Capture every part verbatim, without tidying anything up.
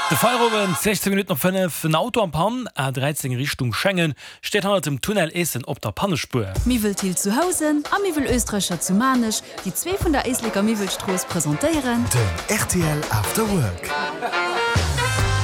De Feierowend, sechzéng Minutten op fënnef, En Auto en panne, A dräizéng Richtung Schengen, steet hannert dem Tunnel Eessen op der Pannespuer. Miwwel Thill zu Housen a Miwwel Oestreicher zu Maarnech, déi zwee vun der Éisleker Miwwelstrooss presentéieren. Den rtl After Work.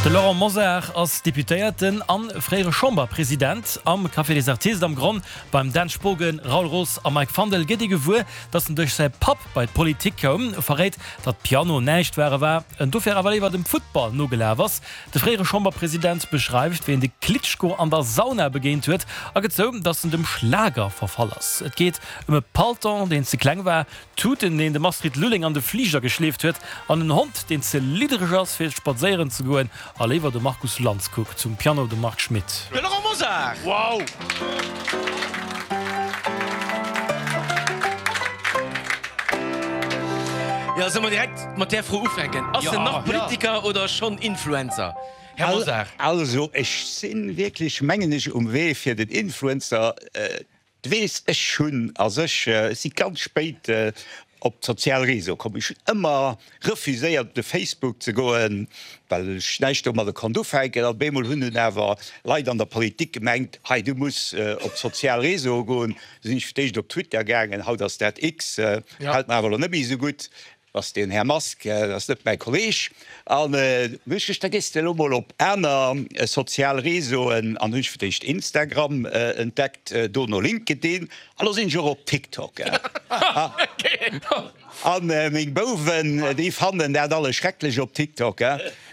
De Laurent Mosar ass Deputéierten an fréiere Chamberpresident. Am Café des Artistes am Gronn beim Dan Spogen, Raoul Roos a Mike Fandel gëtt ee gewuer, datt en duerch säi Papp bei d'Politik koum, verréit, datt Piano näischt ware war, en dofir awer léiwer dem Futtball nogelaf ass. De fréiere Chamberpresident beschreift, wéi en de Klitschko an der Sauna begéint huet a gëtt zou, datt en dem Schlager verfall ass. Et geet ëm e Palton, deen ze kleng war, Tuten, deen dem Astrid Lulling an de Fliger geschleeft huet, an en Hond, deen ze liddereg ass, fir spadséieren ze goen a léiwer de Markus Lanz kuckt. Um Piano de Marc Schmitt. De Laurent Mosar! Wow! Jo, solle mer direkt mat där Fro ufänken? Ass en nach Politiker oder schonn Influencer? Här Mosar. Also, ech si wierklech, mengen ech, um Wee fir den Influencer. Du weess, ech hunn a sech, ech si ganz spéit op d'sozial Réseaue komm. Ech hunn ëmmer refuséiert op de Facebook ze goen, well ech näischt domadder konnt ufänken. An op eemol hunn dunn awer Leit an der Politik gemengt, hei du muss op d'sozial Réseaue goen. Du sinn ech fir d'éischt op Twitter gaangen, haut ass dat X, gefält mer awer elo net méi esou gutt. Ass deen Här Musk, dat ass net mäi Kolleg. An hunn ech geduecht, da gees de elo mol op aner sozial Réseauen. An hunn ech fir d'éischt Instagram entdeckt, dono LinkedIn an elo sinn ech och op TikTok. A meng Bouwen, déi fannen dat alles schrecklech op TikTok.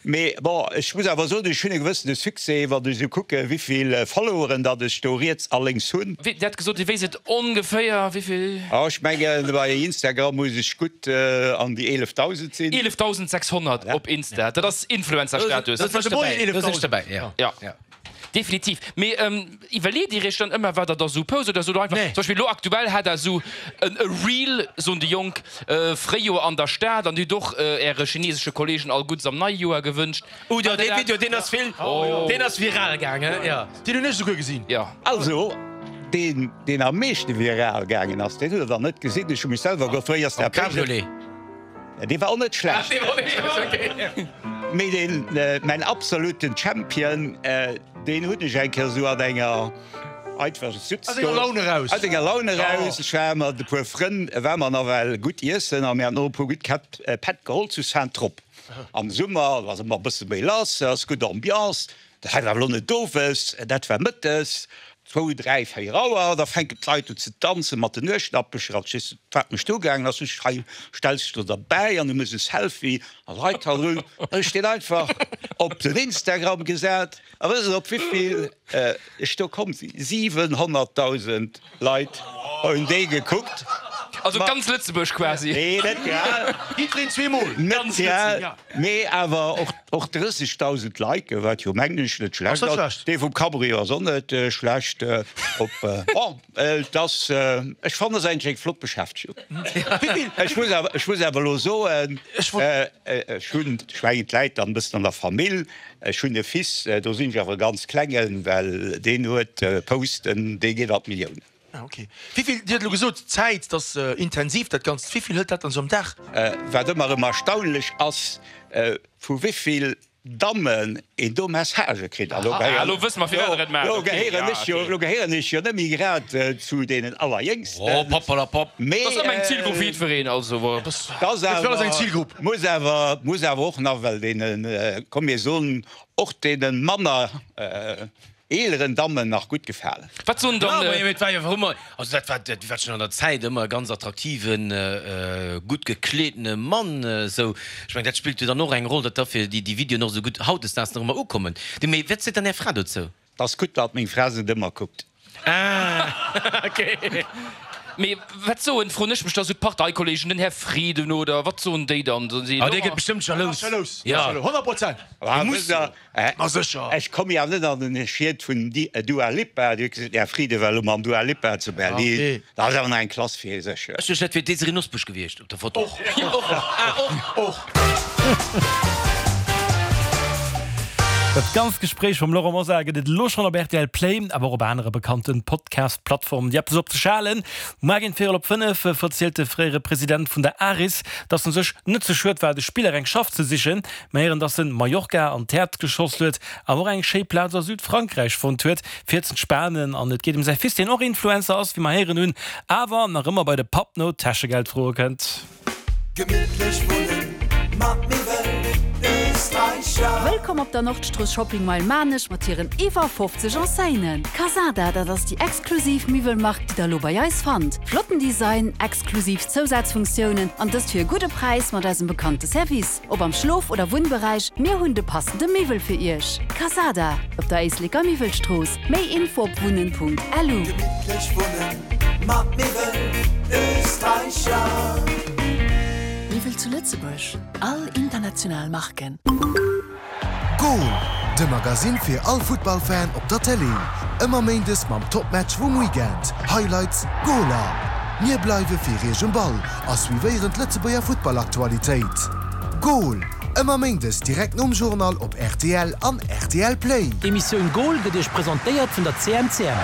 Mee bon, ech muss awer soen, ech hunn e gewëssene Succès, wann ech esou kucken, wéivill Followeren datt ech do riets a lénks hunn. Dir hat gesot, Dir wéisst et ongeféier, wéivill? Oh, ech mengen, bei Instagram muss ech gutt an déi eelefdausend sinn. Eelefdausendsechshonnert op Insta, dat ass Influencer-Status. Do sinn ech derbäi, jo. Jo. Definitiv. Mee iwwerleet Dir Iech dann ëmmer, wat Der da sou post oder sot Der einfach, zum Beispill elo aktuell hat Der esou e Reel, soen déi Jonk, Fréijoer an der Stad an Dir hutt och Äre chinesesche Kollegen all Guddes am neie Joer gewënscht. Oh jo, dee Video, deen ass vill, deen ass viral gaangen, jo. Deen hunn ech esouguer gesinn. Jo. Also, deen, deen am meeschte viral gaangen ass, deen hutt Der dann net gesinn. Ech hu mech selwer gefrot, wéi ass dat méiglech? Dee war och net schlecht. Mee deen, mäin absoluten Champion, deen hunn ech eng Kéier esou an enger einfach sutz Aus enger Laun eraus. Aus enger Laun eraus. Ech war mat e puer Frënn, war mer nawell gutt iessen a mir haten och e puer gutt Käpp Pätt geholl zu Saint-Tropes. Am Summer, do ass ëmmer e bësse méi lass, ass gutt Ambiance. Dat war awer elo net owes, dat war mëttes, zwou, dräi, véier Auer. Da fänken d'Leit un ze danzen mat den Nuechtnappecher. An ech wat mech do gaangen ass, ech hei stells dech do derbäi an du méchs e Selfie a Leit hannendrun. An ech deen einfach op den Instagram gesat. A wësst Der op wéivill ech do komm sinn? Siwenhonnertdausend Leit hunn déi gekuckt. Also ganz Lëtzebuerg quasi. Nee, net grad. Jiddwereen zweemol. Net grad, mee awer och. Och drëssegdausend Liken, wat jo mengen ech net schlecht ass. Dee vum Cabrio ass och net schlecht. Op, bon, et ass, ech fannen, ass eigentlech eng flott Beschäftegung. Ech muss awer, ech muss awer elo soen, ech hunn, ech mengen, et läit dann e bëssen an der Famill, ech hunn e Fils, do sinn ech awer e ganz klengen, well deen huet Posten, dee geet an d'Milliounen. Ah ok. Wéivill, Dir hutt elo gesot, Zäit, dat ass intensiv dat Ganzt, wéivill hëlt dat dann esou am Dag? Wat ëmmer erëm erstaunlech ass, vu wéivill Dammen een do Messagë kritt. A lo gehéieren ech jo, lo gehéieren ech jo net méi grad zu deenen Allerjéngsten. Oh Papperlapapp, dat ass ëmmer eng Zilgrupp fir jiddwereen, also. Dat ass awer, muss awer, muss awer och nach well deenen, komm mir soen, och deene manner Eeleren Dammen nach gutt gefalen. Wat soen dann. Jo, mee et war jo awer ëmmer, also dat war, dat war schonn an der Zäit ëmmer e ganz attraktiven, gutt gekleetene Mann esou. Ech mengen, dat spillt jo dann och eng Roll, datt da fir déi déi Videoen och esou gutt hautdesdaags nach ëmmer ukommen. Du, mee wat seet dann Är Fra dozou? 't ass gutt, datt meng Fra se net ëmmer kuckt. Ah, ok. Mee wat soen, froen ech mech da, sou d'Parteikollegen, den Här Frieden oder wat soen déi dann? Soen si, Ah, dee gëtt bestëmmt jalous. Jalous, Ja. honnert Prozent. Muss. Ma sécher. Ech komme jo net an den Schied vun Dua Lipa. Dir hutt gesot, Här Frieden war elo mam Dua Lipa zu Berlin. Dat ass awer nach eng Klass fir sech. Ech duecht, dat wier d'Désirée Nosbusch gewiescht op der Foto. Och. Och. Ah, och. Och. Dat ganzt Gespréich mam Laurent Mosar gëtt et elo schonn op rtl Play, awer och op anere bekannte Podcast-Plattformen. Déi App ass op ze schalen. Muar géint véierel op fënnef verzielt de fréiere President vun der ARIS, datt en sech net ze schued war, de Spiller eng Schaff ze sichen. Mer héieren, datt en Mallorca an d'Häerz geschoss huet, awer och eng schéi Plaz a Südfrankräich fonnt huet, fir z'entspanen. An et geet ëm säi Fils, deen och Influencer ass, wéi mer héieren hunn, awer nach ëmmer bei de Papp no Täschegeld froe kënnt. Gemittlech wunnen mat Miwwel Österreicher. Wëllkomm op der Nordstrooss Shopping Mile Maarnech mat hiren iwwer fofzeg Enseignen. Casada, dat ass déi exklusiv Miwwelmark, déi der elo bei eis fannt. Flotten Design, exklusiv Zousazfunktiounen an dëst fir e gudde Präis mat eisem bekannte Service. Ob am Schlof oder Wunnberäich, mir hunn de passende Miwwel fir iech. Casada, op der Éisleker Miwwelstrooss. Méi Info op wunnen.lu. Gemittlech wunnen mat Miwwel Österreicher. Miwwel zu Lëtzebuerg, all international Marken. Goal, de Magasinn fir all Futtballfan op der Tëlee. Ëmmer méindes mam Topmatch vum Weekend, Highlights, Goaler. Mir bleiwe fir iech um Ball a suivéieren d'Lëtzebuerger Futtballaktualitéit. Goal, ëmmer méindes direkt nom Journal op rtl an rtl Play. D'Emissioun Goal gëtt iech presentéiert vun der C M C M,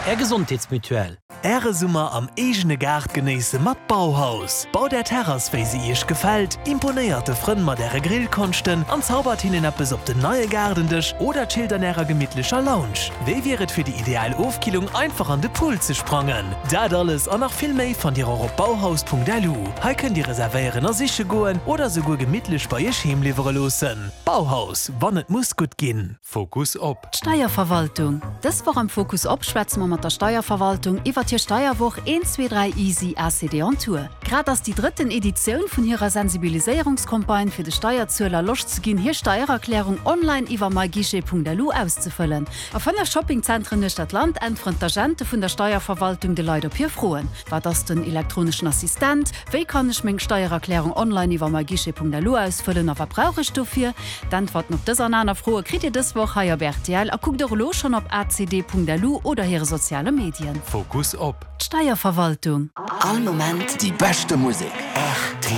Är Gesondheetsmutuelle. Äre Summer am eegene Gaart genéisse mat Bauhaus. Baut Är Terrass wéi se Iech gefält, imponéiert de Frënn mat Äre Grillkonschten an zaubert hinnen eppes op den neie Gaardendësch oder chillt an Ärer gemittlecher Lounge. Wéi wier et fir déi ideal Ofkillung einfach an de Pool ze sprangen? Dat alles an nach vill méi fannt Dir och op bauhaus Punkt L U. Hei kënnt Dir reservéieren a siche goen oder souguer gemittlech bei Iech heem liwwere loossen. Bauhaus, wann et muss gutt ginn. Fokus op. D'Steierverwaltung. Dës Woch am Fokus op schwätze mer mat der Steierverwaltung iwwert hir Steierwoch Eent, Zwee, Dräi Easy A C D on Tour. Grad ass déi drëtten Editioun vun hirer Sensibiliséierungscampagne fir de Steierzueler Loscht ze ginn, hir Steiererklärung online iwwer myguichet Punkt L U auszefëllen. A fënnef Shoppingzentren uechter d'Land äntweren d'Agente vun der Steierverwaltung de Leit op hir Froen. Wat ass den elektroneschen Assistent? Wéi kann ech meng Steiererklärung online iwwer myguichet Punkt L U ausfëllen a wat brauch ech dofir? D'Äntwerten op dës an aner Froe kritt Dir dës Woch hei op R T L a kuckt och elo schonn op A C D Punkt L U oder hire soziale Medien. Fokus op. D'Steierverwaltung. All Moment Déi beschte Musek.